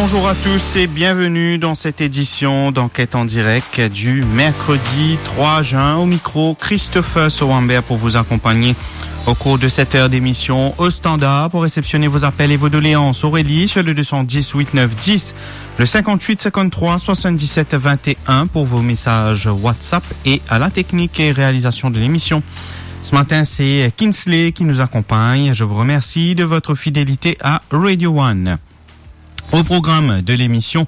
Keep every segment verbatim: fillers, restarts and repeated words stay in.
Bonjour à tous et bienvenue dans cette édition d'Enquête en direct du mercredi trois juin. Au micro, Christopher Sowamber pour vous accompagner au cours de cette heure d'émission. Au standard, pour réceptionner vos appels et vos doléances, Aurélie sur le deux cent dix huit neuf dix, le cinquante-huit cinquante-trois soixante-dix-sept vingt et un pour vos messages WhatsApp, et à la technique et réalisation de l'émission ce matin, c'est Kinsley qui nous accompagne. Je vous remercie de votre fidélité à Radio One. Au programme de l'émission,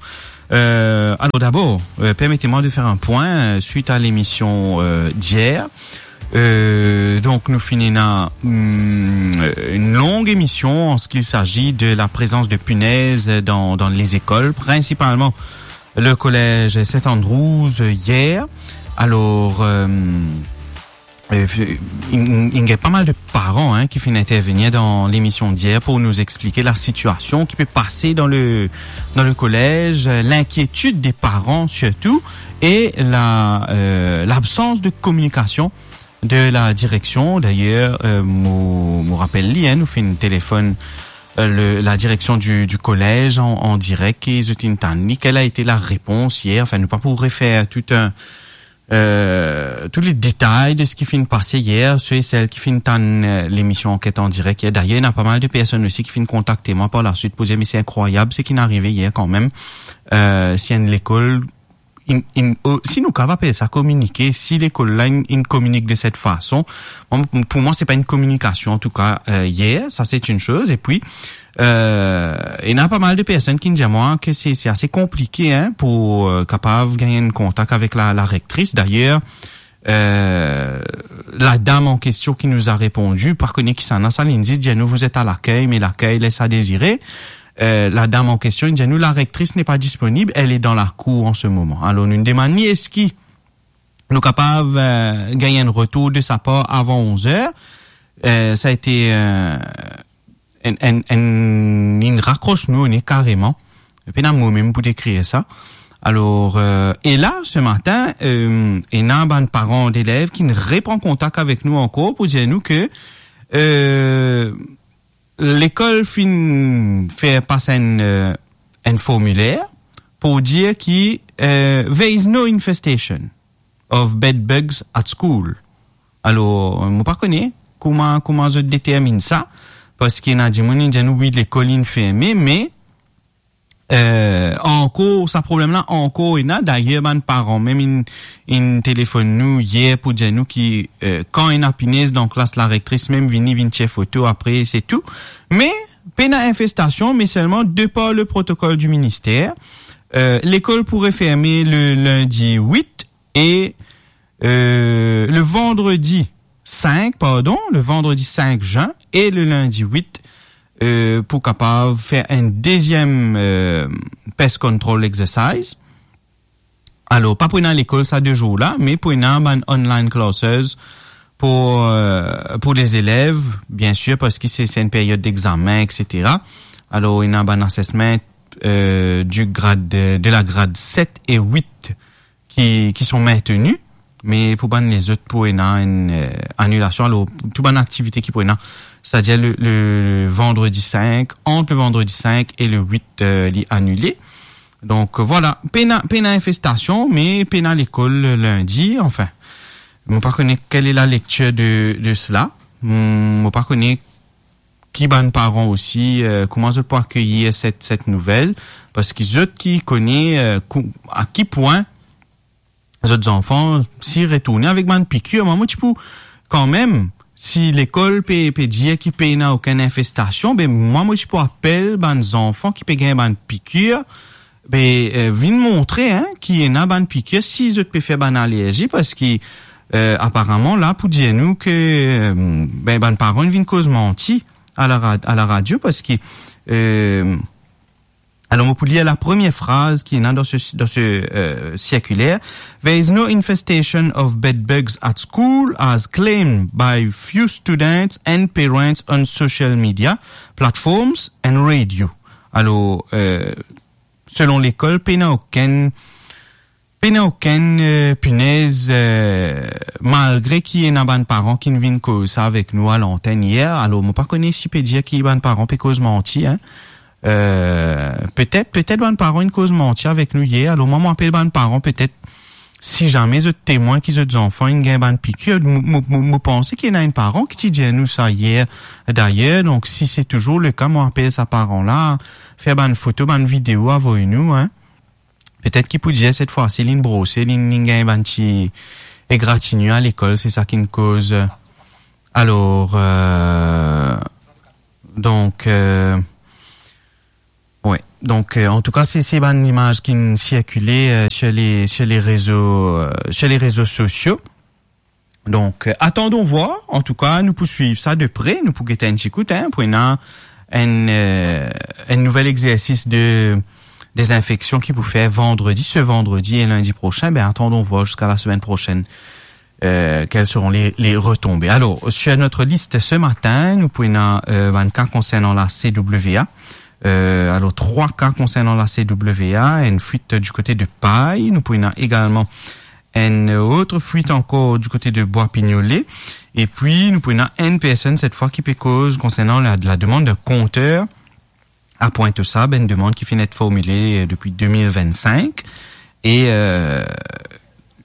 euh, alors d'abord, euh, permettez-moi de faire un point, euh, suite à l'émission, euh, d'hier. Euh, donc, nous finissons une longue émission en ce qu'il s'agit de la présence de punaises dans, dans les écoles, principalement le collège Saint Andrews, euh, hier. Alors, euh, euh, il, il y a pas mal de parents, hein, qui viennent intervenir dans l'émission d'hier pour nous expliquer la situation qui peut passer dans le, dans le collège, euh, l'inquiétude des parents surtout, et la, euh, l'absence de communication de la direction. D'ailleurs, euh, mo, mo rapel li, hein, nou finn telefone, euh, le, la direction du, du collège en, en direct, et zot inn tann li. Quelle a été la réponse hier? Enfin, nou pa pou refaire tout un, euh, tous les détails de ce qui finn pase hier, ceux et celles qui finn tann, euh, l'émission Enquête en direct hier. D'ailleurs, il y a pas mal de personnes aussi qui finn kontakte mwa par la suite pour dire, mais c'est incroyable ce qui est arrivé hier quand même. Euh, si une école, in, in, oh, si nou kapav apel sa kominike, si l'école la, inn, inn kominik de cette façon, bon, pour moi, c'est pas une communication, en tout cas, euh, hier, ça c'est une chose. Et puis, Euh, ena pa mal de personn ki dir mwa ke se, se ase konplike, hein, pou, euh, kapav gagn enn kontak avek la, la rectrice. D'ailleurs, euh, la dame en question qui nous a répondu, pa kone kisannla sa, li dir nou, vous êtes à l'accueil, mais l'accueil laisse à désirer. Euh, la dame en question, li dir nou, la rectrice n'est pas disponible, elle est dans la cour en ce moment. Alors, nou demann li, eski nou kapav, euh, gagn enn retour de sa par avan onze heures? Euh, sa a été, euh, enn, enn, enn, inn rakros nou o ne kareman. Pena mo mem pou dekrir sa. Alors, euh, et là, ce matin, euh, ena bann paran d'elev ki repran kontak avek nou ankor pou dir nou ke, euh, lekol finn fer pas enn, euh, enn formiler pou dir ki, euh, there is no infestation of bed bugs at school. Alors, mo pa kone kouma, kouma zot determinn sa, parski ena dimoun inn dir nou, wi, lekol inn ferme, me, euh, ankor, sa problem la ankor ena. Dayer, bann paran mem inn, inn telefonn nou yer pou dir nou ki, euh, kan ena pinez dan klas, la rectrice mem vini, vinn tir foto, apre se tou. Me, pena infestasion, me selman, de par le protocole du ministère, euh, lekol pou referme le lindi wit e, euh, le vandredi cinq, pardon, le vandredi cinq juin e le lindi wit, euh, pou kapav fer enn deziem, euh, pest control exercise. Alors, pa pou ena lekol sa de zour la, me pou ena bann online classes pou, euh, pou lezelev, bien sir, parski se, se enn period d'examen, et cetera. Alors, ena bann assessment, euh, du grade de, de la grad set e wit ki, ki sont maintenus, me pou bann lezot pou ena enn, euh, anilasion. Alors, tou bann aktivite ki pou ena, c'est-à-dire le, le, le vandredi cinq, entre le vendredi cinq et le huit, euh, li anile. Donc, euh, voilà, pena, pena infestasion, me pena lekol lindi, enfin. Mo pa kone quelle est la lecture de, de cela. Mo, mo pa kone ki bann paran osi, euh, kouma zot pou akeyir set, set nouvel, parski zot ki kone, euh, kou-, a ki pwin zot zanfan si retourne avek bann pikir. Mwa, mo ti pou kanmem, si lekol pe, pe dir ki pena okenn infestasion, be mwa, mo ti pou apel bann zanfan ki pe gagn bann pikir, be, euh, vinn montre, hein, ki ena bann pikir, si zot pe fer bann alerzi, parski, euh, aparaman, la, pou dir nou ke, euh, be, bann paran vinn koz manti a la ra-, a la radio, parski, euh, alors, mo pou lir la première phrase ki ena dan se, dan se, euh, circulaire. There is no infestation of bed bugs at school, as claimed by few students and parents on social media platforms and radio. Alors, euh, selon lekol, pena okenn, pena okenn, euh, pinez, euh, malgre ki ena bann paran ki vinn koz sa avek nou a lantenn yer. Alors, mo pa kone si pe dir ki bann paran pe koz manti, hein. Euh, petet, petet bann paran inn koz manti avek nou yer. Alor, mwa, mo apel bann paran, petet, si zame zot temwin ki zot zanfan inn gagn bann pikir, mo, mo, mo, mo panse ki ena enn paran ki ti dir nou sa yer, dayer. Donk, si se touzour le ka, mo apel sa paran la, fer bann foto, bann video, avoy nou, hein. Petet ki pou dir, set fwa si, linn brose, linn, linn gagn bann ti egratigner lekol, se sa ki'nn koz. Alor, euh, donk, euh, wi. Donk, euh, antouka, se, se bann imaz ki'nn sirkile, euh, sur les, sur les réseaux, euh, sur les réseaux sociaux. Donk, euh, attendons voir. Antouka, nou pou swiv sa de pre. Nou pou gete enn ti kout, hein, pou ena enn, euh, enn nouvel exersis de dezinfeksion ki pou fer vandredi, ce vendredi et lundi prochain. Ben, attendons voir jusqu'à la semaine prochaine, euh, quelles seront les, les retombées. Alors, sur notre liste ce matin, nou pou ena, euh, bann ka konsernan la C W A. Euh, alors, trois cas concernant la C W A, une fuite du côté de Paille. Nou pou ena egalman enn lot fuit ankor du kote de Bwa Pinyole. Epi, nou pou ena enn personn, set fwa, ki pe koz konsernan la, la demann de konter a Pointe-aux-Sables, enn demann ki finn et formile, euh, depi de mil vennsink. E, euh,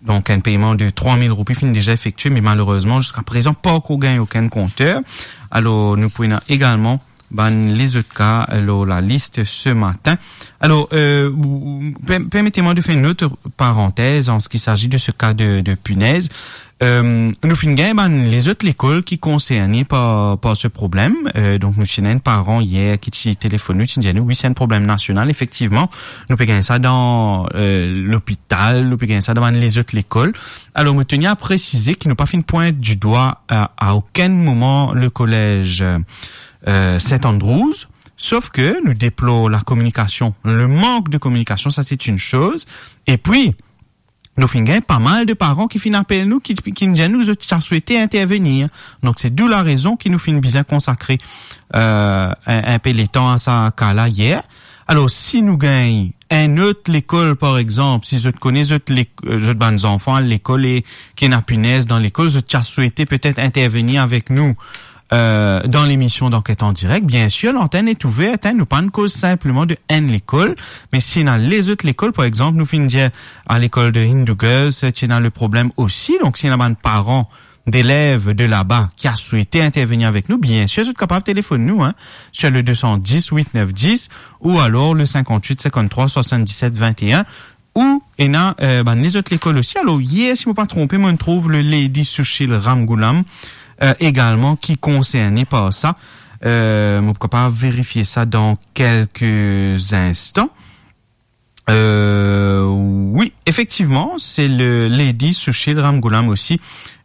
donk, enn peyman de trwa mil roupi finn deza efektie, me malerezman, ziska prezan, pa ankor gagn okenn konter. Alor, nou pou ena egalman bann lezot ka lor lalis ce matin. Alors, euh, ou, ou, per-, permettez-moi de faire une autre parenthèse en ce qui s'agit de ce cas de, de punaise. Euh, nou finn gagn bann lezot lekol ki konserne par, par se problem. Euh, donk, nou ti ena enn paran yer ki ti telefonn nou, ti dir nou, wi, se enn problem nasional, efektivman. Nou pe gagn sa dan, euh, lopital, nou pe gagn sa dan bann lezot lekol. Alor, mo teni a presize ki nou pa finn pwint du dwa a, a okenn moman le kolez, euh, Saint Andrews, sof ke nou deplor la kominikasion, le mank de kominikasion, sa se enn soz. Epi, nou finn gagn pa mal de paran ki finn apel nou, ki, ki finn dir nou zot ti a swete intervenir. Donk, se d'où la rezon ki nou finn bizin konsakre, euh, enn, enn pe letan a sa ka la yer. Alor, si nou gagn enn lot lekol, par exanp, si zot kone zot lek-, euh, zot bann zanfan al lekol e ki ena pinez dan lekol, zot ti a swete petet intervenir avek nou, euh, dan lemision d'Enquête en direct, biensir, lantenn est ouverte, hein, nou pa'nn koz sinpleman de enn lekol, me si ena lezot lekol, par exanp, nou finn dir a lekol de Hindu Girls, ti ena le problem osi, donk si ena bann paran delev de laba ki a swete intervenir avek nou, biensir, zot kapav telefonn nou, hein, sur le deux cent dix, huit neuf dix, ou alors le cinquante-huit cinquante-trois soixante-dix-sept vingt et un, ou ena, euh, bann lezot lekol osi. Alor, yer, si mo pa tronpe, mo'nn trouv le Lady Sushil Ramgoolam, euh, egalman, ki konserne par sa. Euh, mo pou kapav verifie sa dan kelke instan. Euh, wi, efektivman, se le Lady Sushil Ramgoolam osi.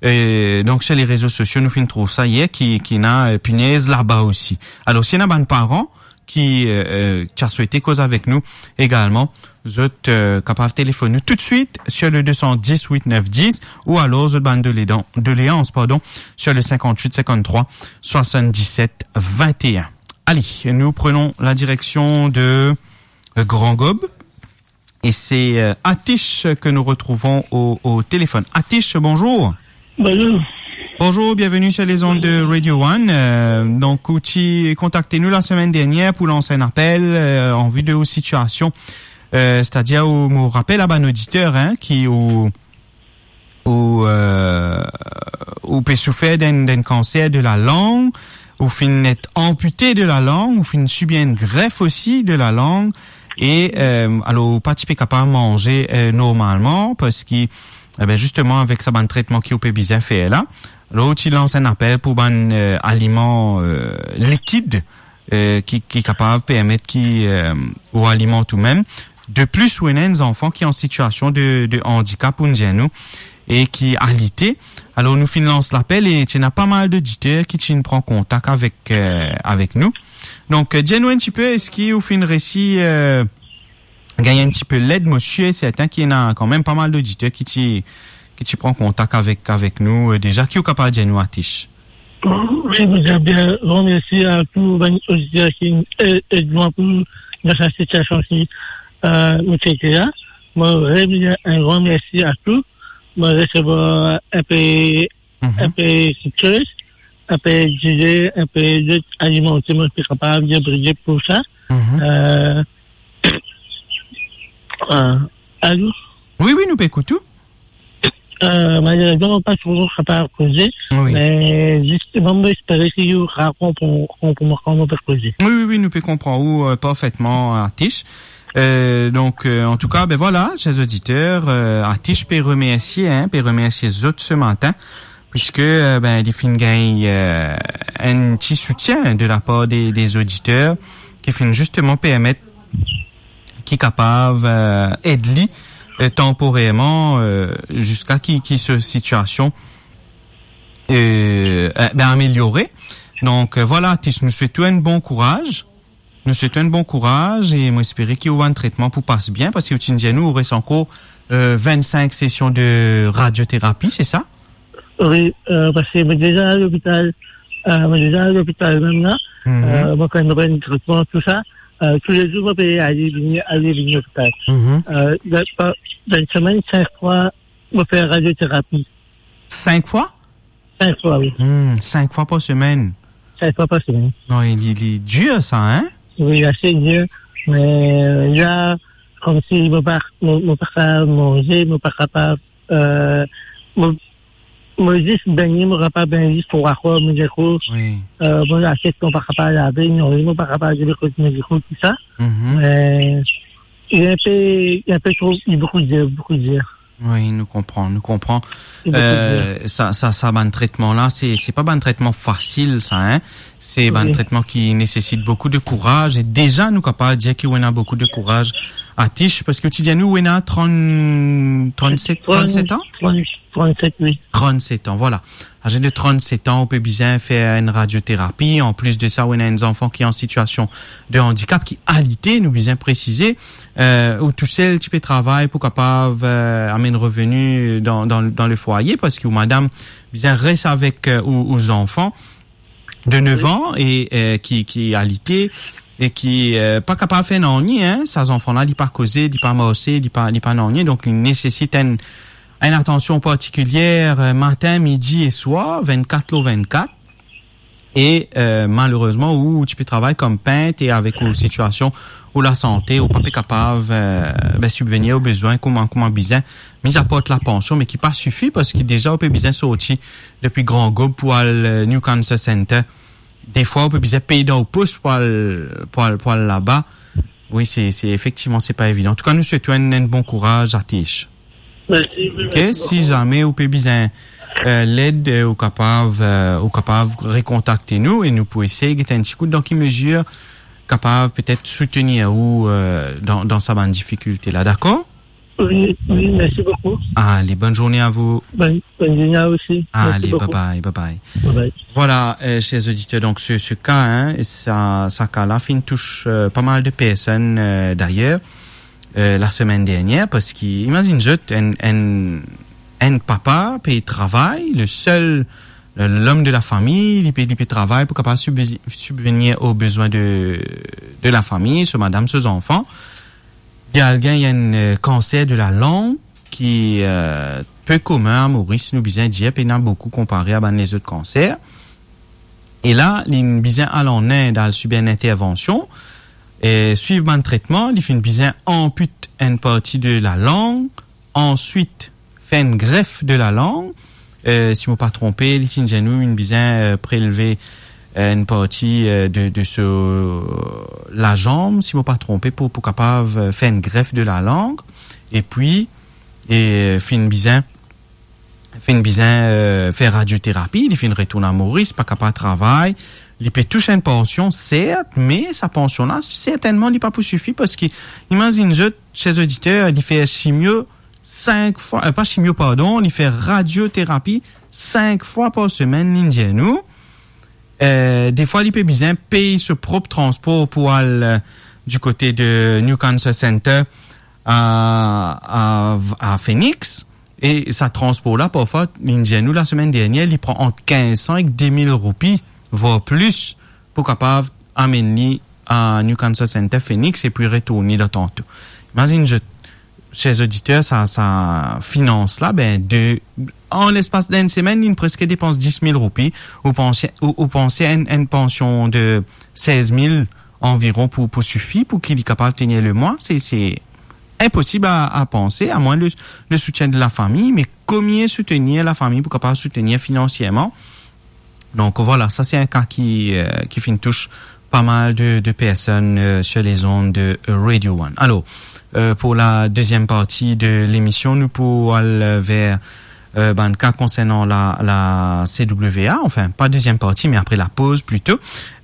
Euh, donk, sur les réseaux sociaux, nou finn trouv sa yer, ki, ki ena, euh, pinez laba osi. Alor, si ena bann paran ki, euh, euh, ti a swete koz avek nou egalman, zot, euh, kapav telefonn nou toutswit sur le deux cent dix, huit neuf dix, ou alors zot bann doledan-, doleans, pardon, sur le cinquante-huit cinquante-trois soixante-dix-sept vingt et un. Allez, nous prenons la direction de, euh, Grand Gaube. Et c'est, euh, Atish que nous retrouvons au, au téléphone. Atish, bonjour. Bonjour. Bonjour, bienvenue sur les ondes de Radio One. Euh, donk, ou ti kontakte nou la semaine dernière pou lans enn apel, euh, an vi de ou sitiasion. Euh, c'est-à-dire, ou, mo rapel a bann oditer, hein, ki ou, ou, euh, ou pe soufer d'un, d'un cancer de la langue, ou finn et ampute de la langue, ou finn sibir enn gref osi de la langue, e, euh, alor, ou pa ti pe kapav manze, euh, normalman, parski, e ben, zisteman, avek sa bann tretman ki ou pe bizin fer la, alor, ou ti lans enn apel pou bann, euh, aliman, euh, likid, euh, ki, ki kapav permet ki, euh, ou alimant ou mem. De plis, ou ena enn zanfan ki an sitiasion de, de andikap, ou'nn dir nou, e ki alite. Alor, nou finn lans lapel e ti ena pa mal doditer ki ti pran kontak avek, euh, avek nou. Donk, euh, dir nou enn tipe, eski ou finn resi, euh, gagn enn tipe led? Mo sir e sertin ki ena kanmem pa mal doditer ki ti, ki ti pran kontak avek, avek nou, euh, deza. Ki ou kapav dir nou, Atish? Wi, mo dir bien gran mersi a tou bann oditer ki, euh, ed mwa pou dan sa sitiasion ki, euh, mo ti ete la. Mo dir bien enn gran mersi a tou. Mo resevwar enpe, mhm, enpe kiksoz. inpe dize, inpe zot alimante, mo pe kapav dir Bondie pou sa. Mhm. Euh, euh, alo? Wi, wi, nou pe ekout ou. Euh, malerezman, mo pa tro kapav koze, wi, me zisteman, mo espere ki ou konpran, konpran, konpran mo pe koze. Wi, wi, wi, nou pe konpran ou, euh, parfetman, Atish. Euh, donk, euh, antouka, ben vwala, ser oditer, euh, Atish pe remersie, hein, pe remersie zot se matin, puiske, euh, ben, li finn gagn, euh, enn ti soutien de lapar de, de oditer ki finn zisteman permet ki kapav, euh, ed li, euh, tanporerman, euh, ziska ki, ki so sitiasion, euh, euh, ben, ameliore. Donk, euh, vwala, Atish, nou swet ou enn bon kouraz. Nou swet ou enn bon kouraz e mo espere ki ou bann tretman pou pas bien, parski ou ti dir nou ou res ankor, euh, vinn-sink sesion de radioterapi, se sa? Wi, euh, parski mo deza al lopital, euh, mo deza al lopital mem la, mhm, euh, mo fer enn tretman, tou sa. Euh, toulezour, mo pe ale vini, ale vini lopital. Mhm. Euh, dan, dan enn semenn, sink fwa, mo fer radioterapi. Sink fwa? Sink fwa, wi. Hmm, sink fwa par semenn. Sink fwa par semenn. Non, li, li dir sa, hein? Wi, ase dir. Me, euh, la, koumsi mo pa, mo, mo pa kapav manze, mo pa kapav, euh, mo, mo zis bengne, mo kapav bengne zis trwa fwa, mo dir ou. Wi. Euh, mo lasiet, mo pa kapav lave, non, mo pa kapav lave kot mo dir ou, tou sa. Mhm. Me, li enpe, li enpe tro, li boukou dir, boukou dir. Wi, nou konpran, nou konpran. Li boukou dir. Euh, sa, sa, sa bann tretman la, se, se pa bann tretman fasil, sa, hein. Se bann, wi, tretman ki nesesit boukou de kouraz. E deza, nou kapav dir ki ou ena boukou de kouraz, Atish, parski ou ti dir nou ou ena trant, trannset, trannset an? Trant, trannset, wi. Trannset an, vwala. Aze de trannset an, ou pe bizin fer enn radioterapi. Anplis de sa, ou ena enn zanfan ki an sitiasion de andikap, ki alite, nou bizin presize. Euh, ou tousel ti pe travay pou kapav, euh, amenn reveni dan, dan, dan le fwaye, parski ou madam bizin res avek, euh, ou, ou zanfan de nef an e, euh, ki, ki alite e ki, euh, pa kapav fer nanye, hein. Sa zanfan la, li pa koze, li pa marse, li pa, li pa nanye. Donk, li nesesit enn, enn atansion partikilier, euh, matin, midi e swar, vennkat lor vennkat. E, euh, malerezman, ou, ou ti pe travay kom pint e avek ou sitiasion ou lasante, ou pa pe kapav, euh, ben, sibvenir ou bezwin kouma, kouma bizin. Mizapar lapansion, me ki pa sifi, parski deza ou pe bizin sorti depi Gran Gob pou al, euh, New Cancer Center. Defwa, ou pe bizin pey dan ou pos pou al, pou al, pou al laba. Wi, se, se, efektivman, se pa evidan. Antouka, nou swet ou enn, enn bon kouraz, Atish. Mersi, wi, ok, mersi boukou. Si zame ou pe bizin, euh, led, euh, ou kapav, euh, ou kapav rekontakte nou e nou pou esey get enn ti kout dan ki mezir kapav petet soutenir ou, euh, dan, dan sa bann difikilte la, dakor? Wi, wi, mersi boukou. Ale, bonn zourne a vou. Bonn, bonn zourne a vou osi. Mersi boukou. Ale, bye bye, bye bye. Bye bye. Vwala, euh, ser oditer, donk se, se ka, hein, sa, sa ka la finn tous, euh, pa mal de personn, euh, dayer, euh, lasemenn dernier, parski imazinn zot, enn, enn, enn papa pe travay, le sel, le, lom de lafami, li pe, li pe travay pou kapav sibvi-, sibvenir o bezwin de, de lafami, so madam, so zanfan. Li al gagn enn, euh, kanser de lalang ki, euh, pe komin a Moris, nou bizin dir, pena boukou konpare a bann lezot kanser. E la, li bizin al an Ind, al sibir enn intervansion, e swiv bann tretman, li finn bizin anpit enn parti de lalang, answit fer enn gref de lalang. Euh, si mo pa tronpe, li ti dir nou, inn bizin, euh, prelve, euh, enn parti, euh, de, de so lazanm, si mo pa tronpe, pou, pou kapav, euh, fer enn gref de lalang. Epi, e, euh, finn bizin, finn bizin, euh, fer radioterapi, li finn retourn a Moris, pa kapav travay. Li pe tous enn pansion, sert, me sa pansion la, sertennman, li pa pou sifi, parski, imazinn zot, ser oditer, li fer simio sink fwa, euh, pa simio, pardon, li fer radioterapi sink fwa par semenn, li dir nou. Euh, defwa, li pe bizin pey so prop transpor pou al, euh, di kote de New Cancer Center a, a, a Phoenix. E sa transpor la, parfwa, li dir nou lasemenn dernier, li pran ant kinz san ek de mil roupi, vwar plis, pou kapav amenn li a New Cancer Center Phoenix epi retourn li dan tanto. Imazinn zot, ser oditer, sa, sa finans la, be, de, an lespas d'enn semenn, li preske depans dis mil roupi, ou panse, ou, ou panse enn, enn pansion de sez mil anviron pou, pou sifi, pou ki li kapav tenir lemwa, se, se inposib a, a panse, amwin le, le soutien de lafami, me komie soutenir lafami pou kapav soutenir finansierman. Donk, vwala, sa se enn ka ki, euh, ki finn tous pa mal de, de personn, euh, sur les ondes de, euh, Radio One. Alor, euh, pou la deziem parti de lemision, nou pou al, euh, ver, euh, bann ka konsernan la, la C W A, anfin, pa deziem parti, me apre lapoz plito.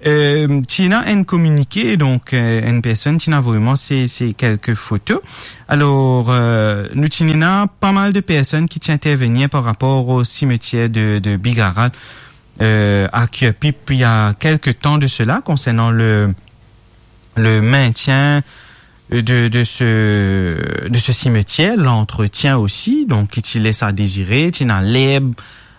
Euh, ti ena enn kominike, donk, euh, enn personn ti ena avoy mwa se, se kelke foto. Alor, euh, nou ti ena pa mal de personn ki ti intervenir par rapor o simetier de, de Bigarat, euh, a Curepipe, il y a quelque temps de cela, concernant le, le maintien de, de ce, de ce cimetière, l'entretien aussi, donk, ki ti les a désirer, ti ena lerb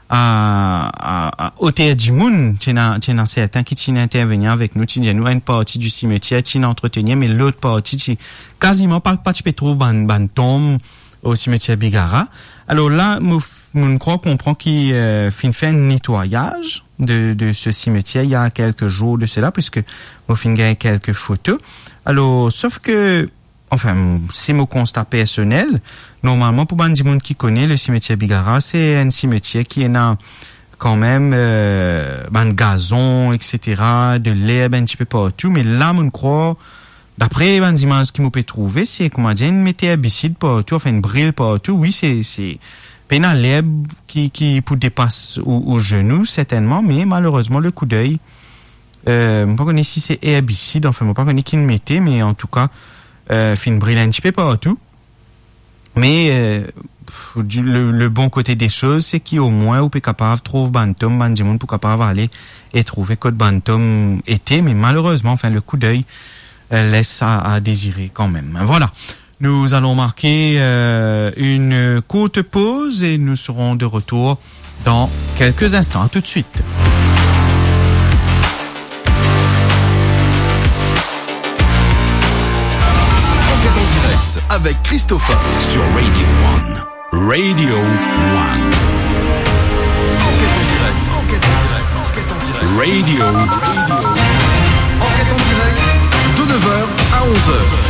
a, a, a oter dimoun, ti ena, ti ena sertin ki ti intervenir avek nou, ti dir nou enn parti di simetier ti ena antretenir, me lot parti ti kaziman pa, pa ti pe trouv bann, bann tonm o simetier Bigara. Alor la, mo f-, mo krwar konpran ki, euh, finn fer enn netwayaz de, de se simetier il y a quelques jours de cela, puisque mo finn gagn kelke foto. Alor, sof ke, anfin, se mo konsta personel. Normalman, pou bann dimoun ki kone, le simetier Bigara, se enn simetier ki ena kanmem, euh, bann gazon, et cetera, de lerb enn tipe partou, me la, mo krwar, dapre bann zimaz ki mo pe trouve, se, koumadir, inn met erbisid partou, anfin, inn bril partou. Wi, se, se pena lerb ki, ki pou depas ou, ou zenou, sertennman, me malerezman, le koudey, euh, mo pa kone si se erbisid, anfin, mo pa kone ki inn mete, me antouka, euh, finn bril enn tipe partou. Me, euh, pff, di, le, le bon kote de soz, se ki omwin ou pe kapav trouv bann tonm, bann dimoun pou kapav ale e trouve kot bann tonm ete, me malerezman, anfin, le koudey, euh, les a, a dezire kanmem. Vwala, nous allons marquer, euh, une courte pause et nous serons de retour dans quelques instants. À tout de suite. Enquête en direct avec Christopher sur Radio One. Radio One. Enquête en direct, enquête en direct, enquête en direct. Radio. Enquête en direct de neuf heures à onze heures.